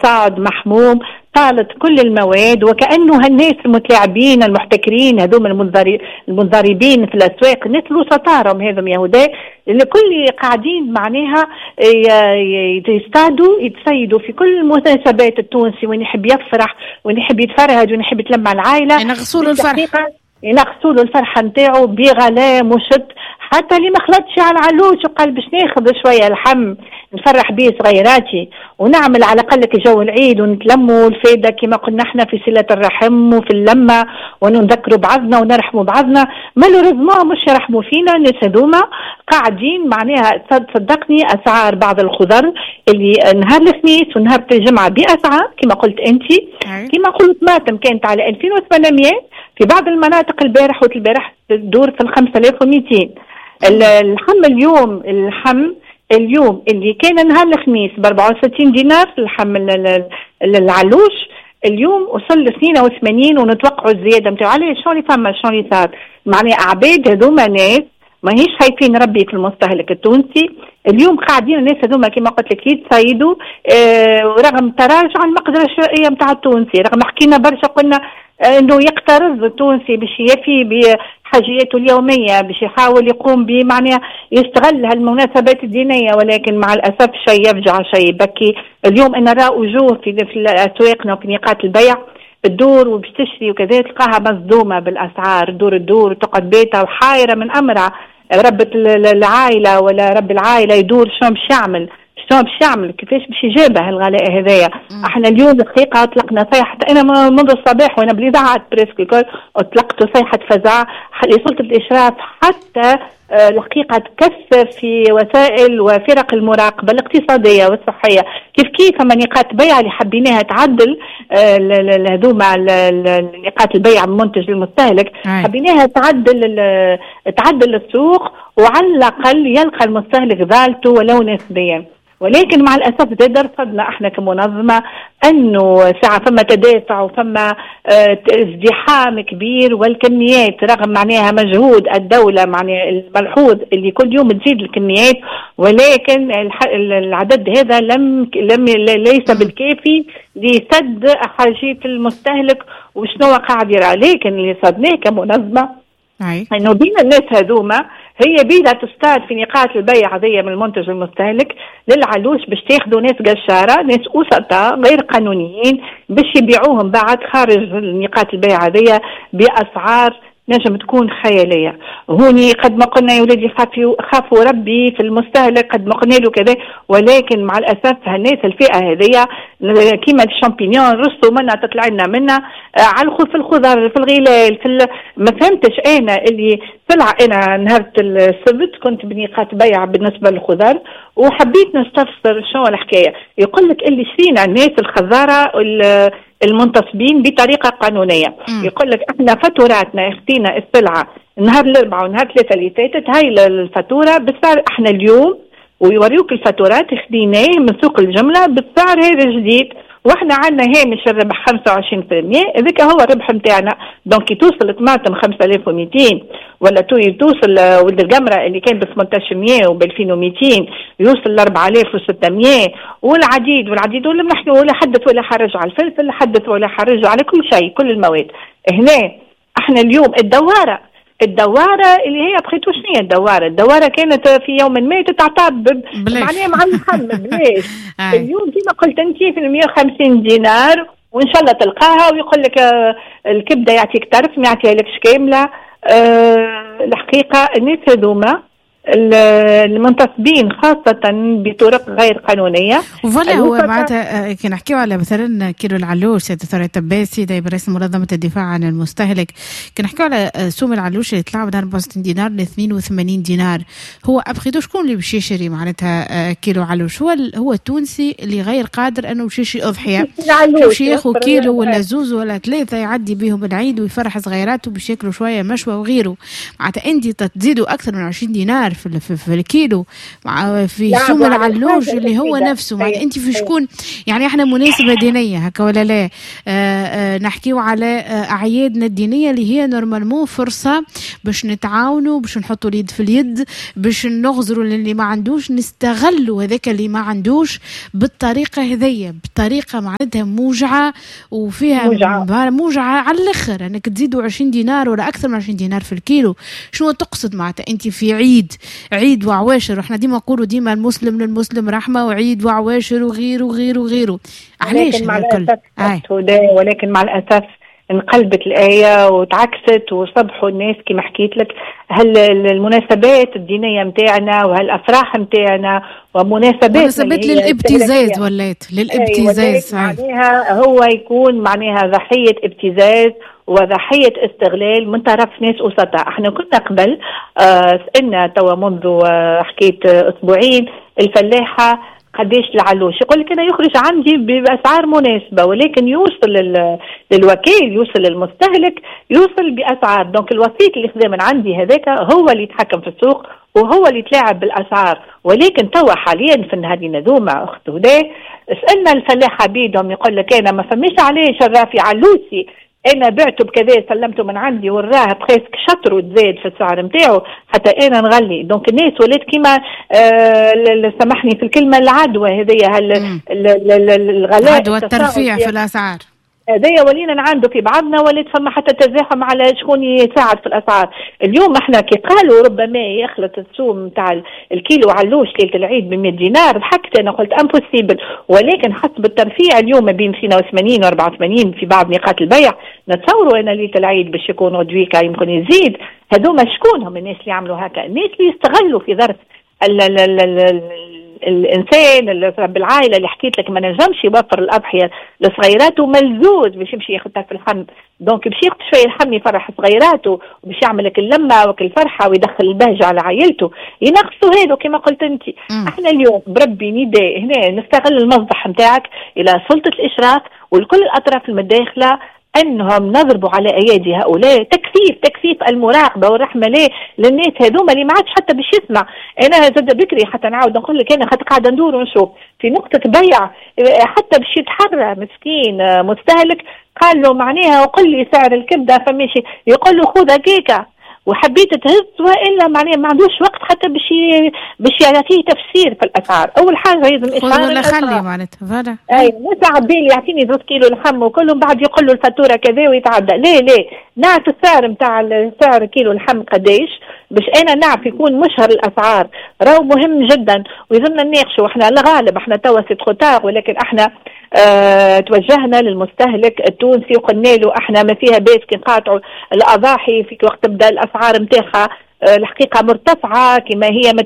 صعد محموم طالت كل المواد، وكأنه هالناس المتلاعبين المحتكرين هذوما المنضربين في الأسواق، الناس الوسطاء هذم يهودا اللي كل قاعدين معناها يصطادوا يتصيدوا في كل المناسبات. التونسي وين يحب يفرح وين يحب يتفرهد وين يحب يتلم العائلة، ينغصوا له الفرحة، ينغصوا له الفرحة نتاعو بغلاء مشط. حتى اللي ما خلطش على العلوش وقال باش ناخذ شوية لحم نفرح بيه صغيراتي ونعمل على الاقل جو العيد ونتلموا الفايدة كما قلنا احنا في صله الرحم وفي اللمة ونذكروا بعضنا ونرحموا بعضنا. malheureusement مش يرحموا فينا الناس هذوما، قاعدين معناها صدقني اسعار بعض الخضر اللي نهار الخميس ونهار الجمعة باسعار كما قلت انت، كما قلت طماطم كانت على 2800 في بعض المناطق البارح والبارح تدور في 5200. اللحم اليوم، اللحم اليوم اللي كان نهار الخميس ب 64 دينار اللحم العلوش، اليوم وصل ل 82 ونتوقعوا الزيادة نتاعو. علاش؟ شنو اللي فما؟ شنو اللي صار؟ معناها عباد هذوما ناس ماهيش خايفين ربي في المستهلك التونسي. اليوم قاعدين الناس هذوما كما قلت لك يتصيدوا، ورغم تراجع المقدرة الشرائية نتاع التونسي، رغم حكينا برشا قلنا انه يقترض التونسي باش يفي بحاجياته اليومية، باش يحاول يقوم بمعنى يستغل هالمناسبات الدينية، ولكن مع الاسف شيء يفجع شيء يبكي. اليوم انا نرى وجوه في اسواقنا وفي نقاط البيع تدور وباش تشري وكذا، تلقاها مصدومة بالاسعار، تدور تدور وتقعد بيتها وحايره من امرها. ربة العائلة ولا رب العائلة يدور شنو باش يعمل، شنو باش يعمل، كيفاش باش يجابه الغلاء هذايا. احنا اليوم الحقيقة اطلقنا صيحة، انا منذ الصباح وانا بالاذاعات presque الكل اطلقت صيحة فزع لسلطه الاشراف حتى الحقيقة تكثف في وسائل وفرق المراقبة الاقتصادية والصحية. كيف كيف فما نقاط بيع اللي حبيناها تعدل هذوما نقاط البيع المنتج للمستهلك، حبيناها تعدل السوق وعلى الاقل يلقى المستهلك ذالته ولو نسبيا. ولكن مع الاسف زاد رصدنا احنا كمنظمه انه ساعة فما تدافع وفما ازدحام كبير، والكميات رغم معناها مجهود الدولة معناها الملحوظ اللي كل يوم تزيد الكميات، ولكن العدد هذا لم لم ليس بالكافي لسد حاجيه المستهلك وشنو قاعد يرى. لكن اللي صدناه كمنظمه انه بين الناس هذوما هي بيدها تصطاد في نقاط البيع هذيا من المنتج المستهلك للعلوش باش تاخذوا ناس قشاره، ناس وسطاء غير قانونيين باش يبيعوهم بعد خارج نقاط البيع هذيا باسعار نجم تكون خيالية. هوني قد ما قلنا يا ولادي خافوا ربي في المستهلك، قد ما قلنا له كذا، ولكن مع الاسف هالناس الفئة هذيا كيما الشامبينيون رصوا منا تطلع لنا منا على في الخضر في الغلال في ما فهمتش انا اللي طلع. انا نهار السبت كنت بنقاط بيع بالنسبة للخضر وحبيت نستفسر شنو الحكاية. يقول لك اللي شرينا الناس الخضاره المنتصبين بطريقة قانونية، يقول لك احنا فاتوراتنا اختينا السلعة نهار الاربعاء ونهار ثلاثة اللي فاتت، هاي الفاتورة بالسعر احنا اليوم، ويوريوك الفاتورات خديناه من سوق الجملة بالسعر هذا الجديد، واحنا عندنا هامش الربح 25%، هذاك هو الربح نتاعنا. donc كي توصل طماطم 5200 ولا توصل ولد القمره اللي كان ب 1800 وب 2200 يوصل ل 4600 والعديد والعديد، ولا نحن ولا حدث ولا حرج على الفلفل، حدث ولا حرج على كل شيء، كل المواد. هنا احنا اليوم الدواره اللي هي بخيتو شنو هي الدواره؟ الدواره كانت في يوم ما تتعطى معناها مع اللحم بلاش. اليوم كما قلت انت في 150 دينار وان شاء الله تلقاها، ويقول لك الكبده يعطيك طرف ما يعطيها لكش كاملة. الحقيقة الناس هذوما المنتصبين خاصة بطرق غير قانونية. voilà هو معناتها كي نحكيو على مثلا كيلو العلوش، سيدة ثريا التباسي نائب رئيس منظمة الدفاع عن المستهلك، كي نحكيو على سوم العلوش اللي طلع من 64 دينار ل 82 دينار، هو après tout شكون اللي باش يشري معناتها كيلو علوش؟ هو التونسي اللي غير قادر انه باش يشري اضحية، باش ياخذ كيلو ولا زوز ولا ثلاثة يعدي بهم العيد ويفرح صغيراته باش ياكلوا شوية مشوى وغيره. معناتها انت تزيدوا اكثر من 20 دينار دينار في الكيلو في سوم العلوش اللي هو نفسه. معناتها انت في شكون يعني احنا مناسبة دينية هكا ولا لا؟ نحكيو على اعيادنا الدينية اللي هي normalement فرصة باش نتعاونوا، باش نحطوا اليد في اليد، باش نغزروا للي ما عندوش، نستغلوا هذاك اللي ما عندوش بالطريقة هذية، بطريقة معناتها موجعة وفيها موجعة على الاخر، انك تزيدوا 20 دينار ولا اكثر من 20 دينار في الكيلو. شنو تقصد معناتها انت في عيد وعواشر؟ واحنا ديما نقولوا ديما المسلم للمسلم رحمه، وعيد وعواشر وغيره وغيره وغيره. علاش مع الاسف ولكن مع الاسف انقلبت الآية وتعكست، وصبحوا الناس كما حكيت لك هل المناسبات الدينية متاعنا وهالأفراح متاعنا ومناسبات للابتزاز، ولات للابتزاز. معناها هو يكون معناها ضحية ابتزاز وضحية استغلال من طرف ناس وسطاء. احنا كنا قبل سألنا توا منذ حكيت أسبوعين الفلاحة قداش العلوش، يقول لك انا يخرج عندي باسعار مناسبة، ولكن يوصل للوكيل، يوصل للمستهلك، يوصل باسعار. donc الوسيط اللي خذا من عندي هذاك هو اللي يتحكم في السوق وهو اللي يتلاعب بالاسعار. ولكن توا حاليا في النهارين هذوما اخت هدى سالنا الفلاحة بيدهم، يقول لك انا ما فماش علاش الرافي علوسي، انا بعته بكذا سلمته من عندي وراه presque شطره تزاد في السعر نتاعو حتى انا نغلي. donc الناس ولات كيما سامحني في الكلمة العدوى هذيا، الغلاء، عدوى الترفيع في الاسعار هذايا ولينا نعاندو في بعضنا، ولات فما حتى تزاحم على شكون يساعد في الاسعار. اليوم احنا كي قالوا ربما يخلط السوم نتاع الكيلو علوش ليلة العيد ب 100 دينار، ضحكت انا قلت impossible. ولكن حسب الترفيع اليوم ما بين 82 و 84 في بعض نقاط البيع، نتصوروا انا ليلة العيد باش يكون غدويكا يمكن يزيد. هذوما شكون هم الناس اللي عملوا هكا؟ الناس اللي يستغلوا في ظرف الانسان رب العائلة اللي حكيت لك ما نجمش يوفر الاضحية لصغيراته، ملزوز باش يمشي ياخذها في اللحم. donc باش ياخذ شوية اللحم يفرح صغيراته وباش يعمل لك اللمة وك الفرحة ويدخل البهجة على عائلته، ينقصوا هذا كما قلت انت. احنا اليوم بربي نداء هنا نستغل المصدح نتاعك الى سلطة الاشراف ولكل الاطراف المتداخله انهم نضربوا على ايادي هؤلاء، تكثيف المراقبة والرحمة ليه للناس هذوما اللي ما عادش حتى باش يسمع. انا زاد بكري حتى نعاود نقول لك انا خاطر قاعدة ندور ونشوف في نقطة بيع حتى باش يتحرى مسكين مستهلك، قال له معناها وقل لي سعر الكبده فماشي، يقول له خذها كيكة وحبيت تهز، والا معناها ما عندوش وقت حتى باش يعطيه تفسير في الاسعار. اول حاجة لازم اشعار ولا خلي معناتها voilà، اي مش عبالي يعطيني 2 كيلو لحم وكلهم بعد يقول له الفاتورة كذا ويتعدى. لا نعرف السعر نتاع سعر كيلو لحم قداش باش انا نعرف يكون مشهر الاسعار، راهو مهم جدا ويلزمنا نناقشوا. احنا الغالب احنا توا c'est trop tard، ولكن احنا توجهنا للمستهلك التونسي وقلنا له احنا ما فيها باس كي نقاطعوا الاضاحي في وقت تبدا الاسعار نتاعها الحقيقة مرتفعة كما هي ما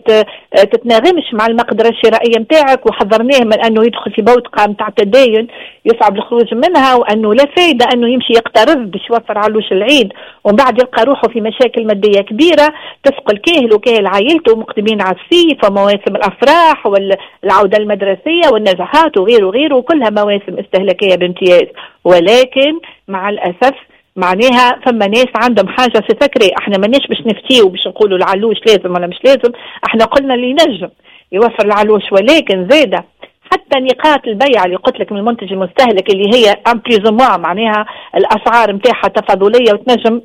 تتناغمش مع المقدرة الشرائية نتاعك، وحذرناه من انه يدخل في بوتقه نتاع تداين يصعب الخروج منها، وانه لا فايده انه يمشي يقترض باش يوفر علوش العيد ومن بعد يلقى روحه في مشاكل مادية كبيرة تثقل كاهل وكاهل عائلته مقدمين على الصيف ومواسم الافراح والعودة المدرسية والنزهات وغيره وغيره، وكلها مواسم استهلاكية بامتياز. ولكن مع الاسف معناها فما ناس عندهم حاجة في فكري، احنا ماناش باش نفتيو باش نقولوا العلوش لازم ولا مش لازم، احنا قلنا اللي ينجم يوفر العلوش. ولكن زاده حتى نقاط البيع اللي قلت لك من المنتج المستهلك اللي هي en plus ou moins معناها الاسعار نتاعها تفاضليه وتنجم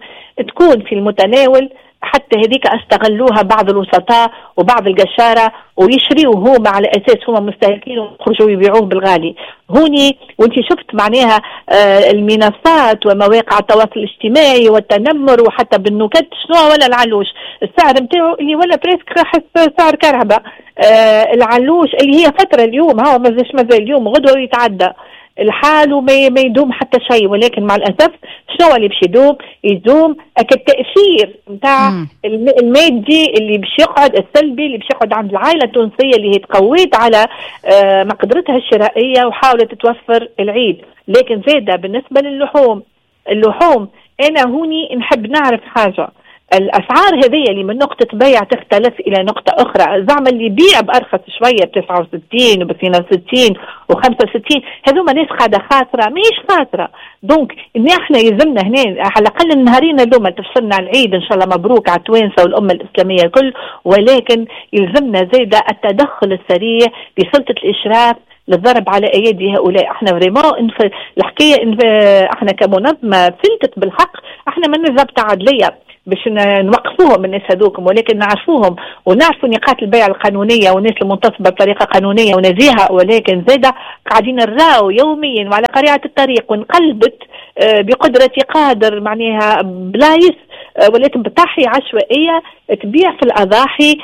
تكون في المتناول، حتى هذيك استغلوها بعض الوسطاء وبعض القشاره ويشريوه هما على اساس هما مستهلكين ويخرجوا يبيعوه بالغالي. هوني وانت شفت معناها المنصات ومواقع التواصل الاجتماعي والتنمر وحتى بالنكت شنو ولا العلوش السعر نتاعو اللي ولا presque حس سعر كهرباء. العلوش اللي هي فترة اليوم هو مازال اليوم غدوه يتعدى الحال وما يدوم حتى شيء. ولكن مع الاسف شنو اللي باش يدوم؟ يدوم التاثير نتاع المادي اللي باش يقعد السلبي اللي باش يقعد عند العائلة التونسية اللي هي تقويت على مقدرتها الشرائية وحاولت توفر العيد. لكن زاده بالنسبة للحوم، اللحوم انا هوني نحب نعرف حاجة. الاسعار هذه اللي من نقطة بيع تختلف الى نقطة اخرى، زعما اللي يبيع بارخص شوية ب 69 وب 62 و 65، هذوما ناس قاعدة خاسره، ماهيش خاسره. donc احنا يلزمنا هنا على الاقل النهارين هذوما تفصلنا على العيد، ان شاء الله مبروك على التوانسة والامه الاسلامية الكل، ولكن يلزمنا زاده التدخل السريع بسلطه الاشراف للضرب على ايادي هؤلاء. احنا vraiment الحكاية احنا كمنظمه فلتت بالحق، احنا ما ضابطه عدليه باش نوقفوهم الناس هذوكم، ولكن نعرفوهم ونعرفوا نقاط البيع القانونية والناس المنتصبه بطريقة قانونية ونزيهه، ولكن زاده قاعدين نراو يوميا وعلى قارعة الطريق وانقلبت بقدره قادر معناها بلايص ولات بطاحي عشوائية تبيع في الاضاحي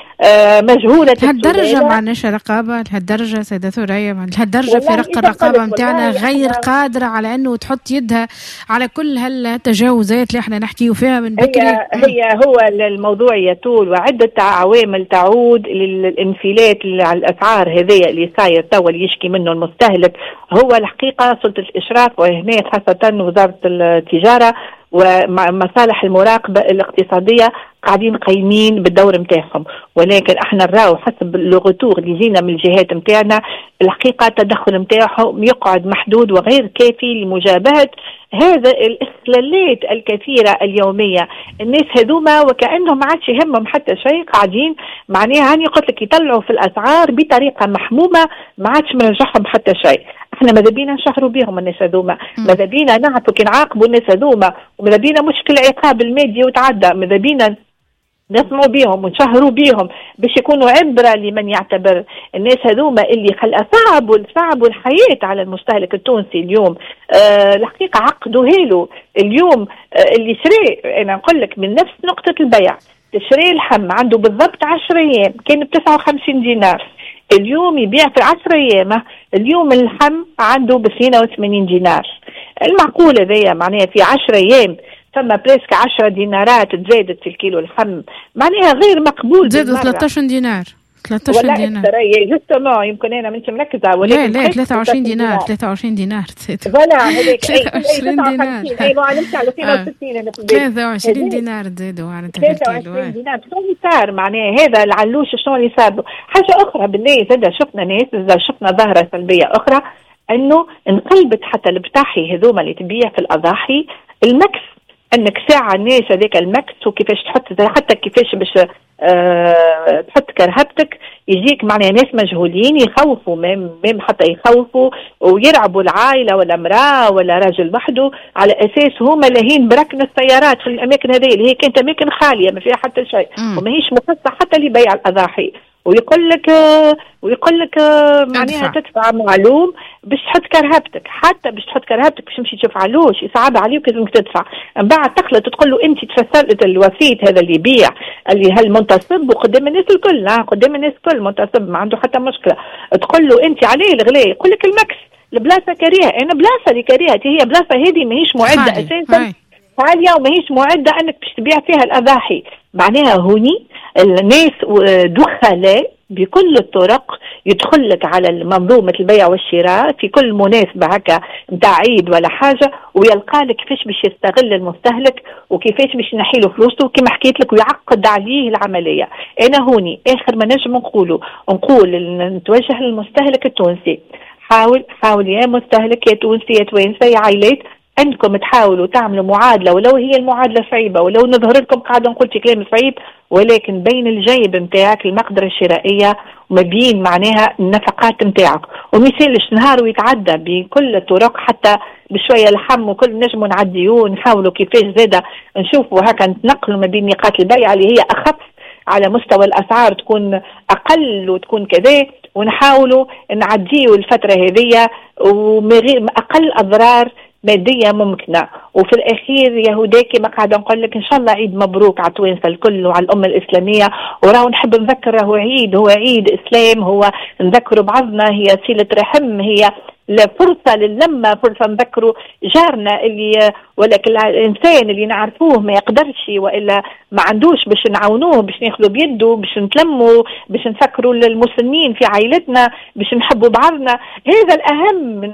مجهولة. لهالدرجة ما عندناش رقابه؟ لهالدرجة سيده ثريا، لهالدرجة فرق الرقابة نتاعنا غير قادرة على انه تحط يدها على كل هالتجاوزات اللي احنا نحكيو فيها من بكري؟ هي هو الموضوع يطول، وعده عوامل تعود للانفلات على الاسعار هذيا اللي صاير توا اللي يشكي منه المستهلك. هو الحقيقة سلطة الاشراف وهنا خاصة وزارة التجارة ومصالح المراقبة الاقتصادية قاعدين قايمين بالدور نتاعهم، ولكن احنا نراو حسب le retour اللي جينا من الجهات نتاعنا الحقيقة التدخل نتاعهم يقعد محدود وغير كافي لمجابهه هذا الاخلالات الكثيرة اليومية. الناس هذوما وكانهم ما عادش يهمهم حتى شيء، قاعدين معناها هاني قلت لك يطلعوا في الاسعار بطريقة محمومه ما عادش مرجعهم حتى شيء. احنا ماذا بينا نشهروا بهم الناس هذوما، ماذا بينا نعرفوا كي نعاقبوا الناس هذوما، وماذا بينا مشكل العقاب المادي وتعدى، ماذا بينا نسمعوا بيهم ونشهروا بيهم باش يكونوا عبرة لمن يعتبر. الناس هذوما اللي صعبوا الحياة على المستهلك التونسي اليوم، الحقيقة عقدوها له اليوم. اللي شري، أنا نقول لك من نفس نقطة البيع تشري اللحم عنده بالضبط 10 أيام كان ب 59 دينار، اليوم يبيع في 10 أيام، اليوم اللحم عنده ب 82 دينار. المعقول هذايا معناها في 10 أيام ثم presque 10 دينارات تزادت في الكيلو اللحم، معناها غير مقبول. زادوا 13 دينار، 13 دينار justement، يمكن انا مانيش مركزه، ولكن لا 23 دينار، 23 دينار voilà هذاك 23 دينار، اي ما نمشي على 62 انا في البيت، 23 دينار تزادوا على 23 دينار. شنو اللي صار معناها هذا العلوش شنو اللي صار؟ حاجة اخرى بالله زاد شفنا ناس، زاد شفنا ظاهره سلبية اخرى، انه انقلبت حتى البطاحي هذوما اللي تبيع في الاضاحي المكس، انك ساعة الناس هذاك المكس وكيفاش تحط، حتى كيفاش باش تحط كرهبتك، يجيك معناها ناس مجهولين يخوفوا même حتى يخوفوا ويرعبوا العائلة ولا امراة ولا راجل وحده، على اساس هما لاهين بركن السيارات في الاماكن هذه اللي هي كانت اماكن خالية ما فيها حتى شيء وماهيش مخصصة حتى لبيع الاضاحي، ويقول لك معناها تدفع معلوم باش تحط كرهبتك، حتى باش تحط كرهبتك باش تمشي تشوف علوش يصعب عليك لازمك تدفع. من بعد تخلط تقول له انت تفسرت الوسيط هذا اللي يبيع اللي هالمنتصب وقدام الناس الكل، قدام الناس الكل منتصب ما عنده حتى مشكلة، تقول له انت عليه الغلاء، يقول لك المكس البلاصة كريهة. انا بلاصة اللي كريهة هي بلاصة هذه ماهيش معده اساسا عالية وماهيش معده انك باش تبيع فيها الاضاحي. معناها هوني الناس دخلاء بكل الطرق يدخل لك على منظومة البيع والشراء في كل مناسبة هكا نتاع عيد ولا حاجة، ويلقى لك كيفاش باش يستغل المستهلك وكيفاش باش ينحي له فلوسه كما حكيت لك ويعقد عليه العملية. أنا هوني آخر ما نجم نقول نتوجه للمستهلك التونسي، حاول يا مستهلك يا تونسي يا توانسة يا عائلات أنكم تحاولوا تعملوا معادلة، ولو هي المعادلة صعيبة ولو نظهر لكم قاعدة نقول في كلام صعيب، ولكن بين الجيب نتاعك المقدرة الشرائية وما بين معناها النفقات نتاعك، وما يسالش نهار ويتعدى بكل الطرق حتى بشوية لحم وكل نجموا نعديوه، نحاولوا كيفاش زادة نشوفوا هكا نتنقلوا ما بين نقاط البيع اللي هي أخف على مستوى الأسعار تكون أقل وتكون كذا، ونحاولوا نعديوا الفترة هذية ومن أقل أضرار مادية ممكنة. وفي الأخير يا هداكي ما قاعدة نقول لك إن شاء الله عيد مبروك على التوانسة الكل وعلى الأمة الإسلامية، وراهو نحب نذكر راهو عيد، هو عيد إسلام، هو نذكروا بعضنا، هي صلة رحم، هي فرصة للمة، فرصة نذكروا جارنا اللي ولكن الإنسان اللي نعرفوه ما يقدرش وإلا ما عندوش باش نعاونوه، باش ناخذوا بيده، باش نتلموا، باش نفكروا للمسلمين في عائلتنا، باش نحبوا بعضنا. هذا الأهم من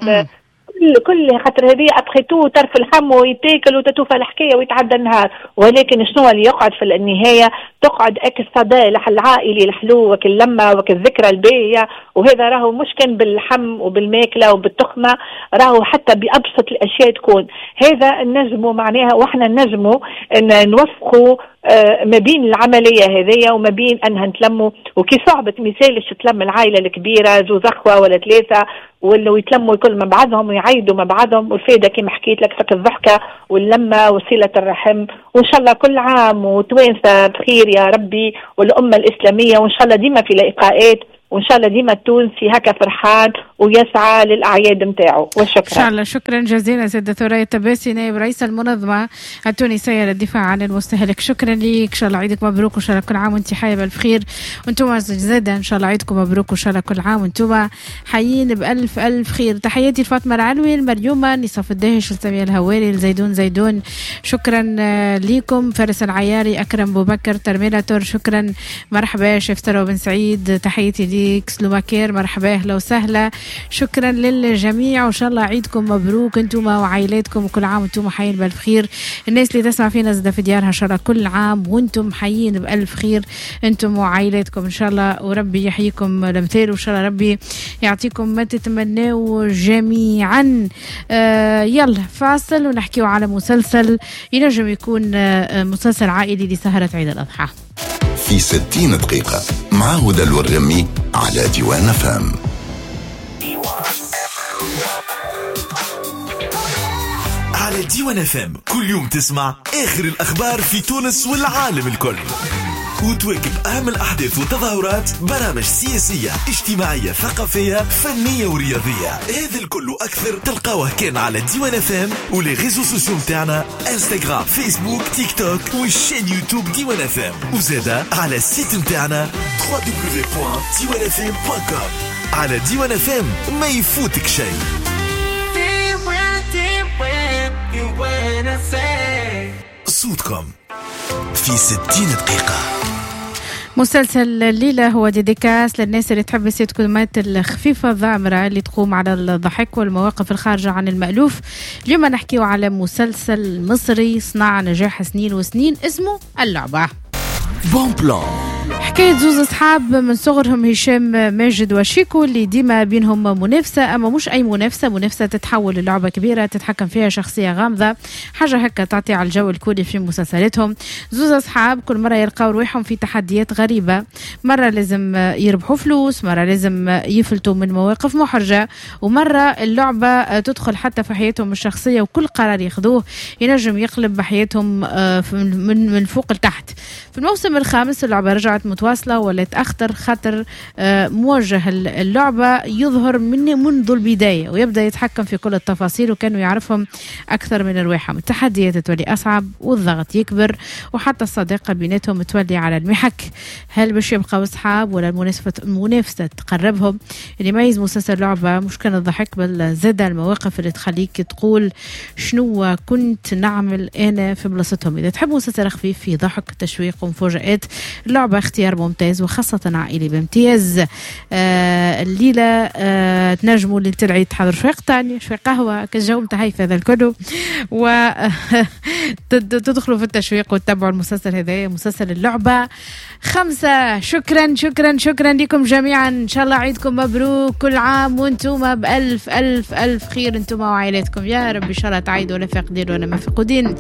كل خاطر هذه après tout طرف اللحم ويتاكل وتتوفى الحكاية ويتعدى النهار، ولكن شنو اللي يقعد في النهاية؟ تقعد اك الصدى العائلي الحلو وك اللمة وك الذكرى الباهيه. وهذا راهو مش كان باللحم وبالماكله وبالتخمه، راهو حتى بابسط الاشياء تكون هذا النجمو معناها. واحنا نجمو ان نوفقوا ما بين العملية هذيا وما بين انها نتلموا. وكي صعبت مثالش تلم العائلة الكبيرة زوز اخوه ولا ثلاثة ولا يتلموا الكل مع بعضهم ويعيدوا مع بعضهم، والفائدة كما حكيت لك فك الضحكة واللمه وصله الرحم. وان شاء الله كل عام وتوانسه بخير يا ربي، والامه الاسلامية، وان شاء الله ديما في لقاءات، وان شاء الله ديما التونسي هكا فرحان ويسعى للاعياد نتاعو. وشكرا. ان شاء الله. شكرا جزيلا سيدة ثريا التباسي نائب رئيس المنظمة التونسية للدفاع عن المستهلك. شكرا لك، ان شاء الله عيدك مبروك، وان شاء الله كل عام وانت حيه بالف خير. وانتم زاده ان شاء الله عيدكم مبروك، وان شاء الله كل عام وانتم حيين بالف الف خير. تحياتي لفاطمة العلوي، المريومه، نصاف الداهش، لساميه الهواري، لزيدون زيدون، شكرا لكم. فارس العياري، اكرم بوبكر، ترميلاتور، شكرا. مرحبا شيف ثروة بن سعيد، تحياتي ليك. سلوماكير، مرحبا، اهلا وسهلا. شكرا للجميع، وان شاء الله عيدكم مبروك انتم وعائلاتكم، وكل عام وانتم حيين بالف خير. الناس اللي تسمع فينا زاده في ديارها، ان شاء الله كل عام وانتم حيين بالف خير انتم وعائلاتكم ان شاء الله، وربي يحييكم الامثال، وان شاء الله ربي يعطيكم ما تتمنوا جميعا. يلا فاصل ونحكيو على مسلسل ينجم يكون مسلسل عائلي لسهرة عيد الأضحى. في 60 دقيقة مع هدى الورغمي على ديوان FM. على ديوان FM كل يوم تسمع آخر الأخبار في تونس والعالم الكل، وتواكب أهم الأحداث والتظاهرات، برامج سياسية، اجتماعية، ثقافية، فنية ورياضية. هذا الكل وأكثر تلقاوه كان على ديوان FM و les réseaux sociaux متاعنا، انستغرام، فيسبوك، تيك توك، وال chaîne يوتيوب ديوان FM، وزادة على ال site متاعنا www.diwanfm.com. على ديوان FM ما يفوتك شيء. صوتكم في 60 دقيقة. مسلسل الليلة هو dédicace للناس اللي تحب السيتكومات الخفيفة الضامرة اللي تقوم على الضحك والمواقف الخارجة عن المألوف. اليوم نحكيو على مسلسل مصري صنع نجاح سنين وسنين اسمه اللعبة. bon plan. حكاية زوز أصحاب من صغرهم، هشام ماجد وشيكو، اللي ديما بينهم منافسة، أما مش أي منافسة، منافسة تتحول للعبة كبيرة تتحكم فيها شخصية غامضة، حاجة هكا تعطي على الجو الكوري في مسلسلاتهم. زوز أصحاب كل مرة يلقاو روحهم في تحديات غريبة، مرة لازم يربحوا فلوس، مرة لازم يفلتوا من مواقف محرجة، ومرة اللعبة تدخل حتى في حياتهم الشخصية، وكل قرار ياخذوه ينجم يقلب حياتهم من فوق لتحت. في الموسم الخامس اللعبة رجعت متواصلة ولات أخطر، خاطر موجه اللعبة يظهر منذ البداية ويبدأ يتحكم في كل التفاصيل، وكانوا يعرفهم أكثر من رواحهم. التحديات تولي أصعب والضغط يكبر، وحتى الصداقة بيناتهم تولي على المحك. هل باش يبقوا أصحاب ولا المنافسة تقربهم؟ اللي يميز مسلسل لعبة مش كان الضحك، بل زاد المواقف اللي تخليك تقول شنو كنت نعمل أنا في بلاصتهم. إذا تحب مسلسل خفيف فيه ضحك، تشويق ومفاجآت، اللعبة اختيار ممتاز وخاصة عائلي بامتياز. الليلة تنجموا اللي تلعي تحضر شوية قطاني، شوية قهوة، كالجو متاع هيفا هذا الكل، و تدخلوا في التشويق وتتابعوا المسلسل هذا، مسلسل اللعبة 5. شكرا شكرا شكرا لكم جميعا، إن شاء الله عيدكم مبروك، كل عام وانتم بألف ألف ألف خير انتم وعائلاتكم يا رب، إن شاء الله تعيدوا ولا فاقدين ولا مفقودين.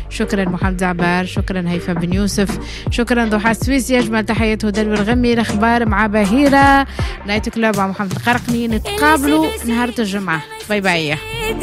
شكرا محمد زعبار، شكرا هيفا بن يوسف، شكرا ضحى السويسي، أجمل تحيات هدى الورغمي. الأخبار مع بهيرة، Night Club مع محمد القرقني. نتقابلوا نهار الجمعة. bye bye.